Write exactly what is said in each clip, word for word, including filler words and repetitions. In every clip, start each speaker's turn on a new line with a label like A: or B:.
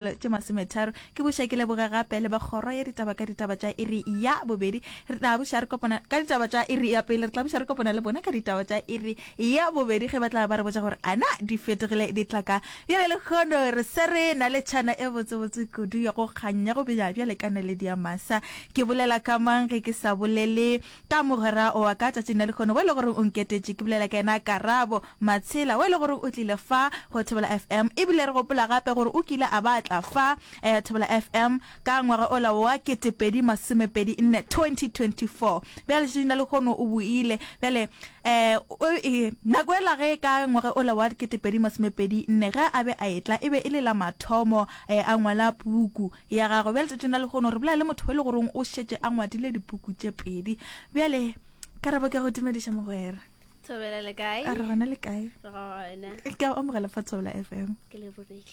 A: Tše masometharo. Ke buša ke leboge gape le ba kgoro ya ditaba ka ditaba tša iri ya bobedi. Re tla buša re kopana ka ditaba tša iri ya pele. Re tla buša re kopana le bona ka ditaba tša iri ya bobedi ge ba tla ba re botša gore ana di fetogile di tla ka. Bjale lehono re se re na le tšhana e botsebotse kudu ya go kganya go benya bjale ka naledi ya masa. Ke bolela ka mang ge ke sa bolele ka mogwera wa ka tšatšing la lehono wo e le gore o nketetše? Ke bolela ka yena Karabo Matshela wo e le gore o tlile fa go Thobela F M ebile re gopola gape gore o kile a ba a tla fa eh, Thobela F M ka ngwaga ola wa ketepedi masomepedi nne, twenty twenty-four. Bjale letšatšing la lehono o boile bjale eh, o, e, nako ela ge ka ngwaga ola wa ketepedi masomepedi nne ge a be a etla e be e le la mathomo eh, a ngwala puku ya gagwe. Bjale letšatšing la lehono re bolela le motho e le goreng o šetše a ngwadile dipuku tše pedi. Bjale Karabo, ke go dumediša, mogwera.
B: Thobela, le kae?
A: A re gona, le kae?
B: Re gona.
A: Ke a amogela fa Thobela F M.
B: Ke lebogile.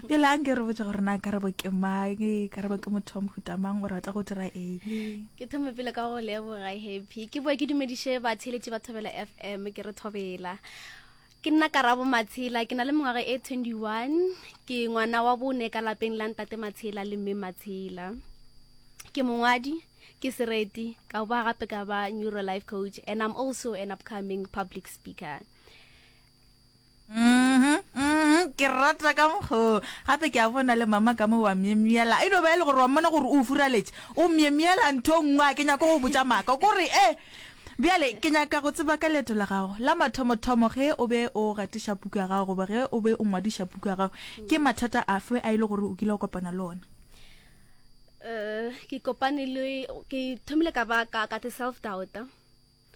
A: Bjale a nke re botse gore na Karabo ke mang, Karabo ke motho wa mohuta mang, o rata go dira eng?
B: Ke thome pele ka go leboga, Happy. Ke boe ke dumediše batheeletši ba Thobela F M, ke re thobela. Ke nna Karabo Matshela, ke na le mengwaga e twenty-one, ke ngwana wa bone ka lapeng la ntate Matshela le mme Matshela. Ke mongwadi, ke sereti, ka ba gape ka ba neuro life coach, and I'm also an upcoming public speaker.
A: Mhm, mhm, ke rata ka mokgo gape ke a bona le mama ka mo wa myemyela, e no ba e le gore wa mmona gore o furaletše, o myemyela ntho nngwe. A ke nyako go botša maaka kore e bjale ke nyaka go tseba ka leeto la gago la mathomothomo ge o be o gatiša puku ya gago goba ge o be o ngwadiša puku ya gago, ke mathata afe a e le gore o kile wa kopana le ona?
B: uh, ke kopane le, ke thomile ka ba ka ka te self doubt,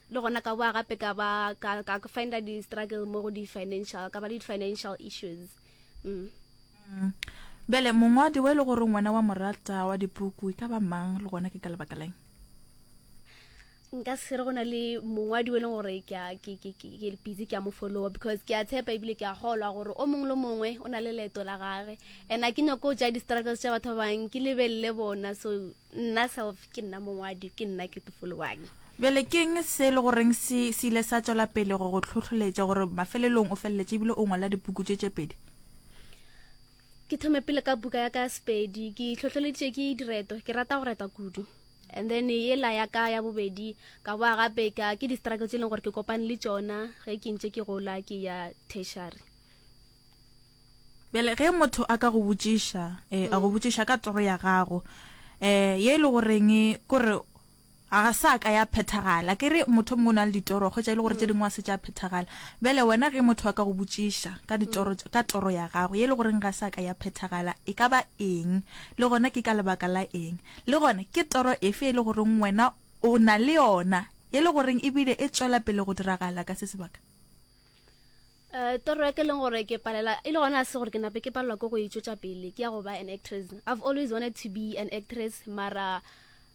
B: le gona ka boa gape ka ba ka ka find di struggle mo go di financial, ka ba le di financial issues mm.
A: mm. Bjale mongwadi wa e le gore ngwana wa morata wa dipuku e ka ba mang, le gona ke ka lebaka leng?
B: Nka se re go na le mongwadi o e leng gore ke a ke ke ke ke busy ke a mo follower, because ke a tshepa ebile ke a golwa gore o mongwe le mongwe o na le leeto la gage, and a ke nyako tša di-struggles tša batho ba bangwe, ke lebelele bona. So nna self ke nna mongwadi, ke nna ke te followang.
A: Bjale ke eng se e le goreng se se ile sa tšwela pele go go tlhotlholetša gore mafelelong o feleletše ebile o ngwala dipuku tše tše pedi?
B: Ke thome pele ka buka ya ka ya Sepedi. Ke tlhotlholeditše ke direto, ke rata go reta kudu. And then yela ya ka ya bobedi, ka boa gape ka ke di-struggle tse e leng gore ke kopane le tšona ge ke ntše ke gola ke ya tertiary.
A: Bjale ge motho a ka go botšiša um a go botšiša ka toro ya gago um ye e le goreng kore ga sa ka ya phethagala, ke re motho mongwe o na le ditoro, kgwetša e le gore tše dingwe a se tša phethagala. Bjale wena ge motho a ka go botšiša ka ditoro, ka toro ya gago ye e le goreng ga sa ka ya phethagala, e ka ba eng, le gona ke ka lebaka la eng, le gona ke toro efe e le goreng wena o na le yona ye le goreng ebile e tšwela pele go diragala ka se sebaka?
B: Uh, toro ya ke leng gore ke palela e le gona se gore ke nape ke palelwa ke go e tšwetša pele ke ya go ba an actress. I've always wanted to be an actress, mara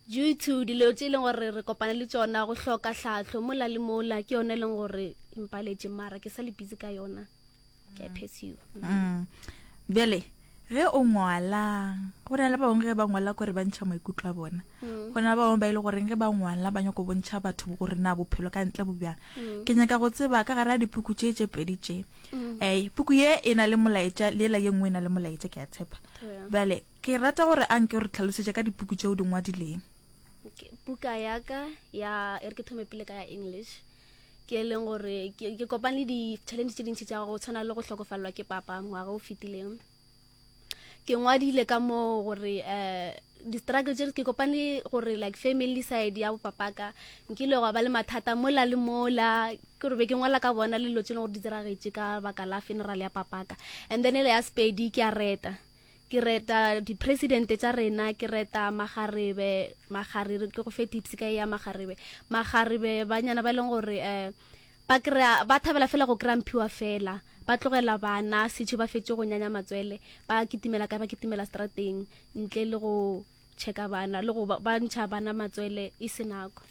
B: due to dilo tše e leng gore re kopane le tšona, go hloka tlhahlo mola le mola, ke yona e leng gore e mpaletše, mara ke sa le busy ka yona, ke a pursue.
A: mm. bjale ge o ngwala, go na le ba bangwe ge ba ngwala kore ba ntšha maikutlo a bona, go na le ba bangwe ba e le goreng ge ba ngwala ba nyako bontšha batho gore na bophelo ka ntle bo bjang. Ke nyaka go tseba ka gare ga dipuku tše tše pedi tše, um puku ye e na le molaetša le ela ye nngwe e na le molaetša, ke a tshepa. Bjale ke rata gore a nke re tlhalosetše ka dipuku tšeo di ngwadileng.
B: Okay, buka ya ka ya e re ke thome pele ka ya English, ke e leng gore ke ke kopane le di-challenge tše dintši tša go tshwana le go hlokofalelwa ke papa ngwaga o fetileng. Ke ngwadile ka mo gore um di-struggle tše ke kopane gore like family side ya bopapaka nkile gwa ba le mathata mola le mola, ke gore be ke ngwala ka bona le dilo tše leng gore di diragetše ka baka la funeral ya papaka. And then ele ya Sepedi, ke a reta, ke reta di-presidente tša rena, ke reta magarebe magarebe ke go fe tips ka ya magarebe magarebe banyana ba e leng gore um ba kry-a, ba thabela fela go kry-a mphiwa fela, ba tlogela bana setšho, ba fetse go nyanya matswele, ba kitimela kae? Ba kitimela strateng ntle le go checka bana le go ba ba ntšha bana matswele e se nako.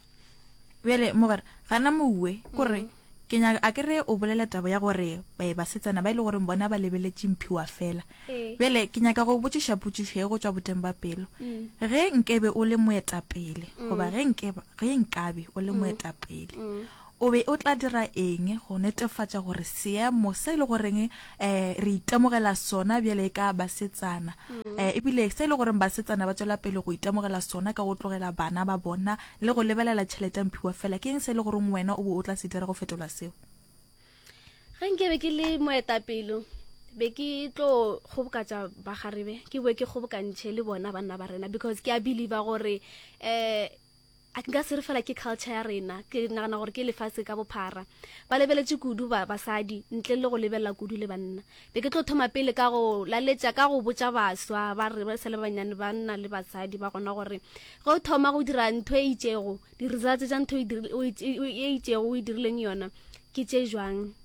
A: Bjale mogwera gana moue kore ke nyaka a ke re o bolela taba ya gore eh, basetsana ba e le gore bona ba lebeletše mphiwa fela.
B: Ee.
A: Bjale ke nyaka go botšiša potšišo ye go tšwa boteng ba pelo.
B: Mm.
A: Ge nkebe o le moetapele goba ge nkebe ge nkabe o le moetapele,
B: Mm.
A: O be o tla dira eng go netefatša gore seemo se e le goreng um re itemogela sona bjale ka basetsana, um ebile se e le goreng basetsana ba tšwela pele go itemogela sona ka go tlogela bana ba bona le go lebelela tšhelete ya mphiwa fela, ke eng se e le goreng wena o be o tla se dira go fetola seo?
B: Ge nke be ke le moetapele, be ke tlo kgobokatša bagarebe, ke boe ke kgobokantšhe le bona banna ba rena, because ke a believer gore um a nka se re fela ke culture ya rena, ke nagana gore ke lefase ka bophara ba lebeletše kudu ba basadi ntle le go lebelela kudu le banna. Be ke tlo thoma pele ka go laletša, ka go botša baswa ba re ba sa le banyane, banna le basadi ba gona, gore ge o thoma go dira ntho e itšego, di-results tša ntho e e itšego o e dirileng yona ke tše jwang.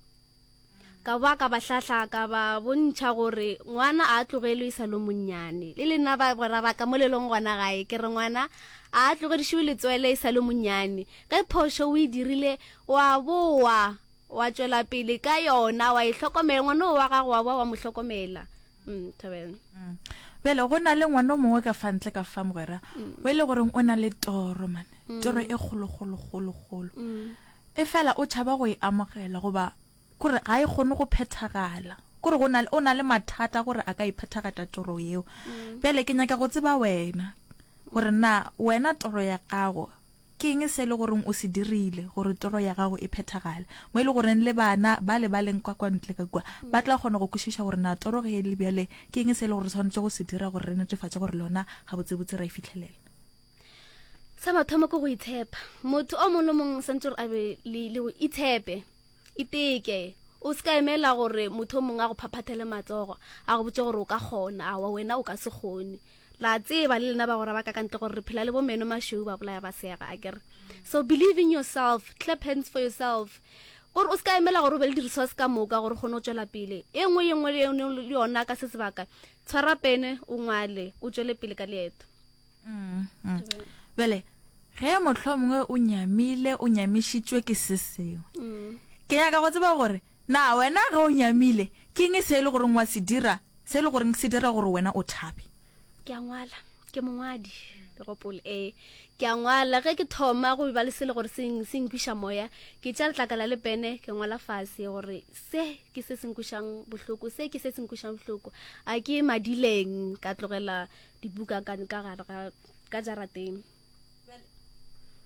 B: Ka ba ka ba hlahla, ka ba bontšha gore ngwana a tlogelwe e sa le monnyane. Le lena ba bagwera ba ka mo le leng gona gae, ke re ngwana a tlogedišiwe letswele e sa le monnyane. Ge phošo o e dirile, wa boa wa tšwela pele ka yona, wa e hlokomela ngwana o wa gago, wa boa wa mo hlokomela. Mm, thobela.
A: Bjale go na le ngwana o mongwe ka fa ntle ka fa mogwera, o e le goreng o na le toro mane, toro e kgolo kgolo kgolo kgolo, e fela o tšhaba go e amogela goba kore ga e kgone go phethagala, kore go na o na le mathata gore a ka e phethagatša toro yeo. Bjale ke nyaka go tseba wena gore na wena toro ya gago ke eng se e le goreng o se dirile gore toro ya gago e phethagale, mo e le goreng le bana ba le ba leng kwa kwa ntle ka kua ba tla kgona go kwešiša gore na toro ge e le bjale ke eng se e le gore re swanetše go se dira gore re netefatše gore lona gabotsebotse ra e fitlhelela.
B: Sa mathomo ke go itshepa. Motho o mongwe le mongwe santse gore a be le le go itshepe, iteke. O se ka emela gore motho o mongwe a go phaphathele matsogo a go botse gore o ka kgona, awa wena o ka se kgone. La tseba le lena bagwera ba ka ka ntle gore re phela le bo meno mašweu ba bolaya ba sega, akere. So believe in yourself, clap hands for yourself, gore o se ka emela gore o be le di-resource ka moka gore o kgone go tšwela pele. E nngwe ye nngwe le yona ka se sebaka, tshwara pene o ngwale, o tšwele pele ka leeto.
A: Bjale ge mohlomongwe o nyamile, o nyamišitšwe ke se sengwe, ke nyaka go tseba gore na wena ge o nyamile ke eng se e le goreng wa se dira, se e le goreng se dira gore wena o thabe?
B: Ke a ngwala, ke mongwadi, le gopole. Ee, ke a ngwala. Ge ke thoma go ba le se le gore se se nkwiša moya, ke tša letlakala le pene, ke ngwala fase gore se ke se se nkwišang bohloko, se ke se se nkwišang bohloko. A ke madileng ka tlogela dibuka ka ka gare ga ka jarateng.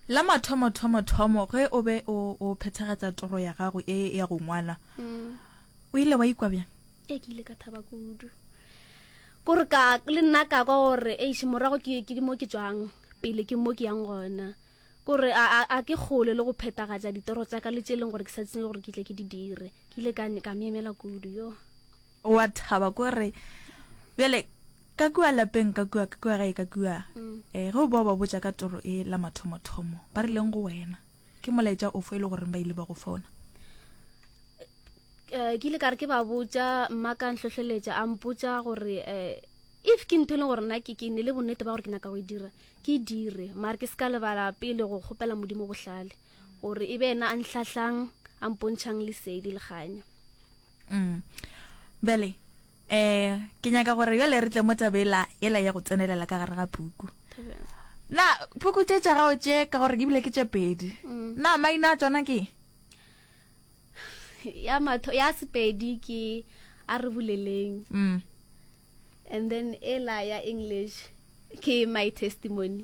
A: La mathomo thomo thomo ge o be o o phethagatša toro ya gago e ya go ngwala, o ile wa ikwa bjang?
B: Ee, ke ile ka thaba kudu, kore ka le nna ka kwa gore eish, morago ke ke mo ke tswang, pele ke mo ke yang gona, kore a a ke kgole le go phethagatša ditoro tša ka le tše leng gore ke sa tsebe gore ke tle ke di dire. Ke ile ka ka myemela kudu yo.
A: Wa thaba kore bjale ka kua lapeng, ka kua ka kua gae ka kua, um ge o ba ba botša ka toro e la mathomothomo, ba rileng go wena? Ke molaetša ofo e le goreng ba ile ba go fona?
B: um ke ile ka re ke ba botša, mma ka ntlhohleletša, a mpotša gore um if ke ntho e leng gore nna ke ke ne le bonnete ba gore ke nyaka go e dira, ke e dire, mare ke se ka lebala pele go kgopela Modimo bohlale gore e be ena a ntlhahlang, a mpontšhang lesedi le kganya.
A: Bjale um ke nyaka gore bjale re tle mo tabela ela ya go tsenelela ka gare ga puku. Na puku tše tša gago tše, ka gore ebile ke tše pedi, na maina a tšona ke?
B: Ya matho ya Sepedi ke A Re Boleleng,
A: mm.
B: and then ela ya English ke My Testimony.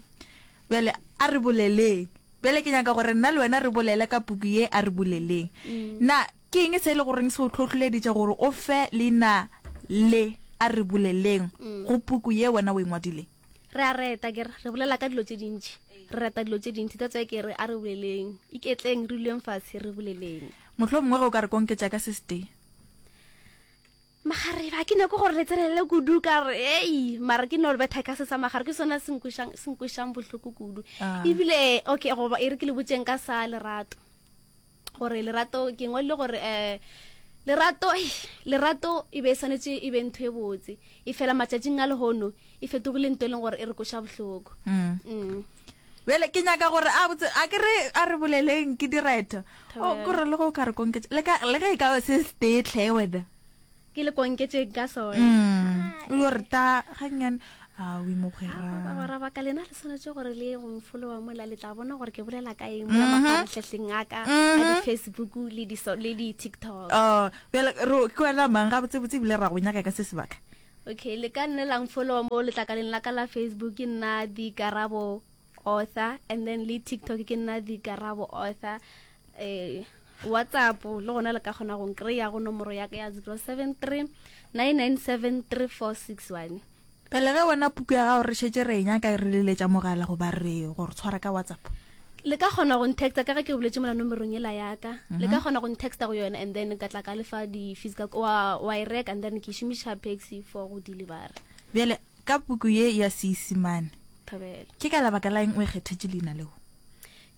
A: Bjale A Re Boleleng, bjale ke nyaka gore nna le wena re bolele ka puku ye A Re Boleleng. Na ke eng se e le goreng se o tlhotlholeditše gore o fe leina le A Re Boleleng go puku ye wena o e ngwadileng?
B: Re a reta, ke re re bolela ka dilo tše dintši, re reta dilo tše dintši, that's why ke re a re boleleng, iketleng, re duleng fatshe re boleleng.
A: Mohlomongwe ge o ka re konketša ka se setee.
B: Magarebe a ke nyako gore le tsenelele kudu, ka re ei, mara ke no betha ka se sa magare, ke sona se nkwešang se nkwešang bohloko kudu.
A: Ah.
B: Ebile okay, goba e re ke le botseng ka sa lerato, gore lerato ke ngwadile gore um lerato lerato e be e swanetše e be ntho e botse, e fela matšatšing a lehono e fetogile ntho e leng gore e re koša bohloko.
A: Mm.
B: Mm.
A: Bjale ke nyaka gore a botse, a ke re a re boleleng ke direto, o kore le go ka re konketša le ka le ge e ka ba se setee tlhe wena.
B: Ke le konketšeng ka sona.
A: Mm. O yo re ta gannyane Awi mogwera.
B: Bagwera ba ka lena le swanetše gore le ye go mfolowa mola le tla bona gore ke bolela ka eng mola mafaratlhahleng a ka a di-Facebook le di le di-TikTok.
A: Oh, bjale ro ke wena mang gabotsebotse ebile ra go nyaka ka se sebaka?
B: Okay, le ka nne la mfolowa mo letlakaleng la ka la Facebook ke nna Dikarabo Author and then le TikTok ke nna Dikarabo Author. Eh WhatsApp le gona le ka kgona go nkry-a go nomoro ya ka ya zero seven three nine nine seven three four six one.
A: Pele ge wena puku ya gago re šetše re e nyaka re leletša mogala goba re go re tshwara ka WhatsApp?
B: Le ka kgona go ntexta ka ge ke boletše mola nomorong yela ya ka. Le ka kgona go ntexta go yona and then ka tla ka lefa di-fees ka wa, wa e reka and then ke šomiša Paxi for go delivera.
A: Bjale ka puku ye ya Seisemane,
B: Thobela.
A: ke ka lebaka la eng o e kgethetše leina leo?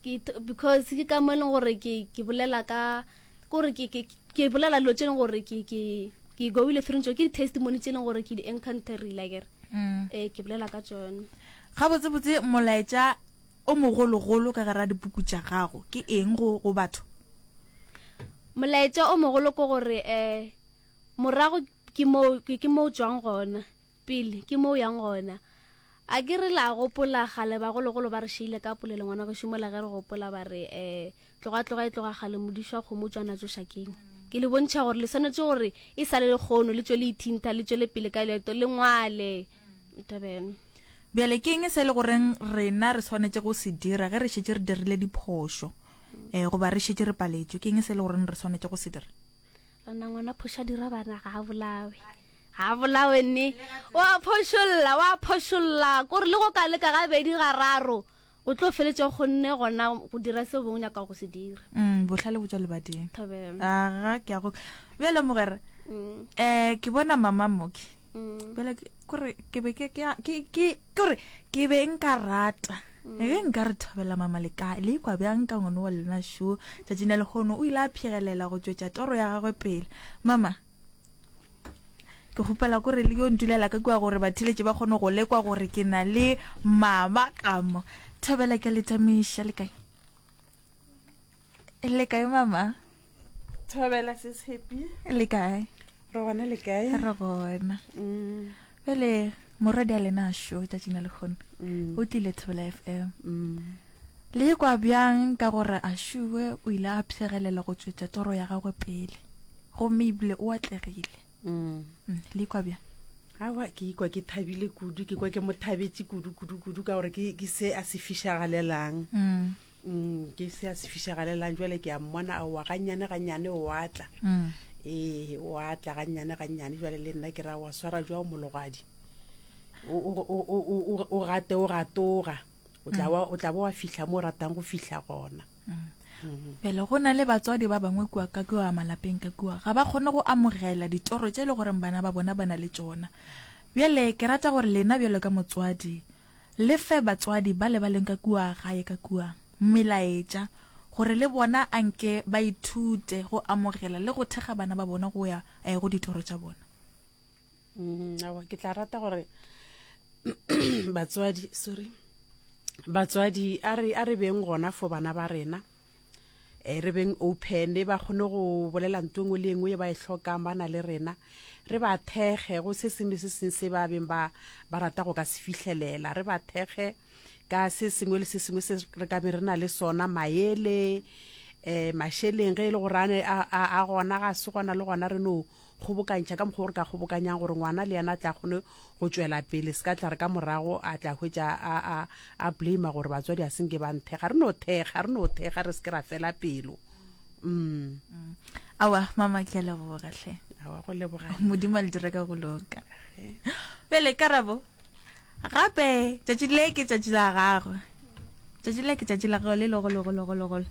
B: Ke because ke ka mo e leng gore ke ke bolela ka gore ke ke ke bolela dilo tše leng gore ke ke ke goile through tšo ke di-testimony tše leng gore ke di encounterile akere.
A: Mm.
B: Eh ke bolela ka tšona.
A: Gabotsebotse molaetša o mogologolo ka gare ga dipuku tša gago ke eng go go batho?
B: Molaetša o mogolo ke gore eh morago ke mo ke mo tšwang gona, pele ke mo yang gona. A ke re la gopola gale bagologolo ba re šeile ka polelo ngwana gešo mola ge re gopola ba re eh tloga tloga e tloga gale modišwa kgomo tšwa natšo šakeng. Ke le bontšha gore le swanetše gore e sa le lekgono le tšwe le ithintha le tšwele pele ka leeto le ngwale. Tabeng.
A: Bjale ke eng se le goreng rena re swanetše go se dira ge re šetše re dirile diphošo eh goba re šetše re paletšwe? Ke eng se le goreng re swanetše go se dira?
B: Rena ngwana phoša dira bana ga a bolawe. Ga a bolawe nne. Wa phošolla, wa phošolla. Kore le go ka leka gabedi gararo o tlo feletša o kgonne gona go dira seo o nyaka go se dira.
A: Mm, bohlale bo tšwa lebading.
B: Thobela.
A: Aga ke a go. Bjale mogwera,
B: Mm.
A: eh ke bona mama moki.
B: Mm.
A: Bjale kore ke be ke ke ke kore ke be nka rata. Ge nka re thobela mama le ka le ikwa bjang ka ngwana wa lena šo tšatšing la lehono o ile a phegelela go tšwetša toro ya gagwe pele. Mama, ke kgopela kore le yo ntulela ka kua gore batheletše ba kgone go lekwa gore ke na le mama ka mo. Thobela ke le tamiša le kae? Le kae mama?
C: Thobela sis Happy.
A: Le kae?
C: Re gona le kae?
A: Re gona.
C: Mm.
A: Bjale morwedi a lena šo tšatšing la lehono
C: Mm.
A: o tlile Thobela F M.
C: Mm.
A: Le kwa bjang ka gore a šuwe o ile a phegelela go tšwetša toro ya gagwe pele gomme ebile o atlegile.
C: Mm.
A: Mm, le kwa bjang?
C: Aowa ke ikwa ke thabile kudu, ke kwa ke mo thabetše kudu kudu kudu ka gore ke ke se a se fišagalelang.
A: Mm.
C: Mm, ke se a se fišagalelang jwale ke a mmona aowa gannyane gannyane o atla.
A: Mm.
C: Ee, o atla gannyane gannyane jwale le nna ke ra wa swara jwa mologadi. O o o o o o gate o gatoga. O tla wa o tla ba wa fihla mo o ratang go fihla gona.
A: Mm.
C: Mm.
A: Bjale go na le batswadi ba bangwe kua ka kua malapeng ka kua ga ba kgone go amogela ditoro tše le gore bana ba bona ba na le tšona. Bjale ke rata gore lena bjalo ka motswadi le fe batswadi ba le ba leng ka kua gae ka kua melaetša gore le bona anke ba ithute go amogela le go thekga bana ba bona go ya eh, go ditoro tša bona.
C: Mm, aowa ke tla rata gore batswadi sorry batswadi a re a re beng gona for bana ba rena. Eh re beng open ba kgone go bolela ntho engwe le engwe e ba e hlokang ba na le rena. Re ba thekge go se sengwe le se sengwe se ba beng ba ba rata go ka se fihlelela. Re ba thekge ka se sengwe le se sengwe se re ka be re na le sona, maele eh mašeleng ge e le gore a ne a, a, a gona ga se gona le gona re no kgobokantšha ka mokgwa o re ka kgobokanyang gore ngwana le yena a tla kgone go tšwela pele, se ka tla re ka morago a tla hwetša a, a, a blame gore batswadi a senke ba nthekga. Re no thekga, re no thekga, re se ke ra fela pelo. Mm.
A: Aowa mama ke a leboga hle.
C: Aowa go leboga.
A: Modimo a le dire ka go loka. Bjale Karabo, gape tšatši le ke tšatši la gagwe. Tšatši le ke tšatši la gagwe le legolo golo golo golo.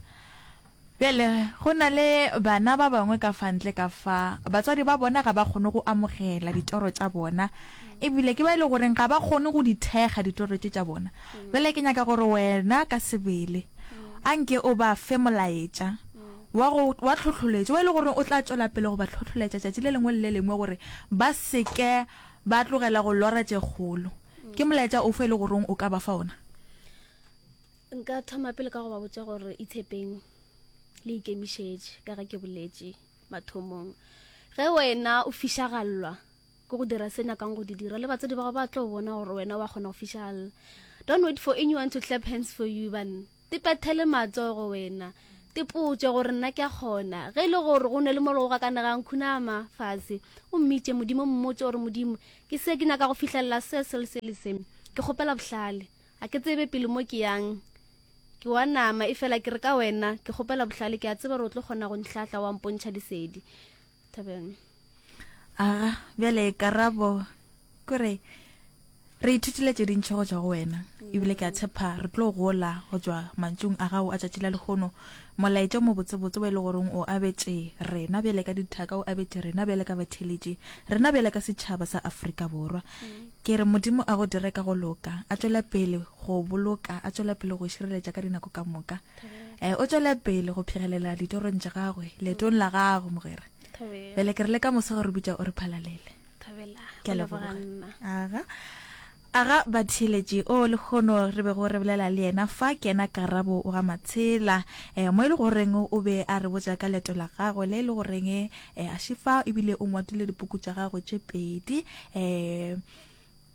A: Bjale go na le bana ba bangwe ka fa ntle ka fa batswadi ba bona ga ba kgone go amogela ditoro tša bona ebile ke ba e le goreng ga ba kgone go di thekga ditoro tše tša bona. Bjale ke nyaka gore wena ka sebele anke o ba fe molaetša wa go wa tlhohloletšo wa e le gore o tla tšwela pele go ba tlhohloletša tšatši le lengwe le le lengwe gore ba seke ba tlogela go lora tše kgolo. Ke molaetša ofe e le goreng o ka ba fa ona?
B: Nka thoma pele ka go ba botša gore itshepeng le ikemišetše ka ge ke boletše mathomong. Ge wena o fišagallwa Ke go dira se nyakang go di dira. Le batswadi ba gago ba tlo bona gore wena wa kgona go fišalela. Don't wait for anyone to clap hands for you, banna. Tipethele matsogo wena. Tipotše gore nna ke a kgona. Ge e le gore go ne le mo le go gakanegang, khunama fase o mmitše Modimo, mmotše gore Modimo, ke se ke nyaka go fihlelela se, se le se le se. Ke kgopela bohlale. Ga ke tsebe pele mo ke yang. Ke wa nama, efela ke re ka wena, ke kgopela bohlale, ke a tseba gore o tlo kgona go nhlahla wa mpontšha lesedi. Thabelo.
A: Aga, bjale karabo kore re ithutile tše dintši go tšwa go wena, ebile ke a tshepa re tlo gola go tšwa mantšung a gago a tšatši la lehono. Molaetša o mobotsebotse o e le goreng o abetše rena bjale ka dithaka, o abetše rena bjale ka batheeletši, rena bjale ka setšhaba sa Afrika Borwa. Ke re Modimo a go dire ka go loka, a tšwele pele go boloka, a tšwele pele go šireletša ka dinako ka moka. Eh, o tšwele pele go phegelela ditorong tša gagwe, leetong la gago, mogwera. Bjale ke re le ka moso ge re bitša o re phalalele.
B: Thabela.
A: Ke a
B: Go leboga
A: leboga.
B: nna.
A: Aga. Aga batheeletši o lehono re bego re bolela le yena fa ke yena Karabo wa ga Matshela, eh, mo e le goreng o be a re botša ka leeto la gagwe le e le goreng eh, a šifa ebile o ngwadile dipuku tša gagwe tše pedi, eh,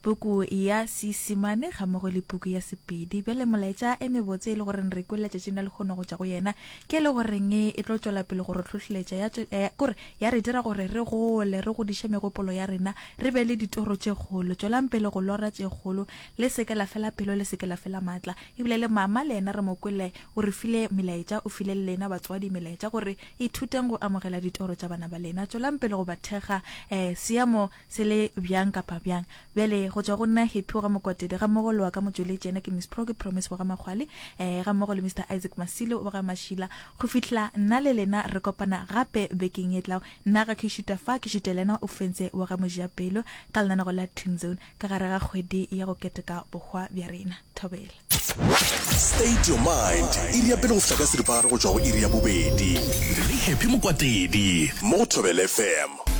A: puku ya Seisemane gammogo le puku ya Sepedi. Bjale molaetša e mebotse e le goreng re kwele letšatšing la lehono go tšwa go yena ke e le goreng e tlo tšwela pele go re hlohleletša ya tšwe, eh, kore ya re dira gore re gole, re godiše megopolo ya rena, re be le ditoro tše kgolo. Tšwelang pele go lora tše kgolo, le se ke la fela pelo, le se ke la fela maatla. Ebile le mama le yena re mo kwele o re file melaetša, o file le lena batswadi melaetša gore ithuteng go amogela ditoro tša bana ba lena. Tšwelang pele go ba thekga, eh, seemo se le bjang kapa bjang. Bjale go tšwa go nna Happy wa ga Mokwatedi gammogo le wa ka motšweletši yena ke Miss Pro, ke Promise wa ga Makgwale, eh, gammogo le Mister Isaac Masilo wa ga Mashila. Go fihla nna le lena re kopana gape bekeng e tlago. Nna ga ke šuta fa, ke šuta le yena o fentse wa ga Mojapelo ka lenanego la Teen Zone ka gare ga kgwedi ya go keteka bohwa bja rena. Thobela.
D: State Your Mind, iri ya pele go fihla ka seripagare go tšwa go iri ya bobedi.
E: Le Happy Mokwatedi
D: mo go Thobela F M.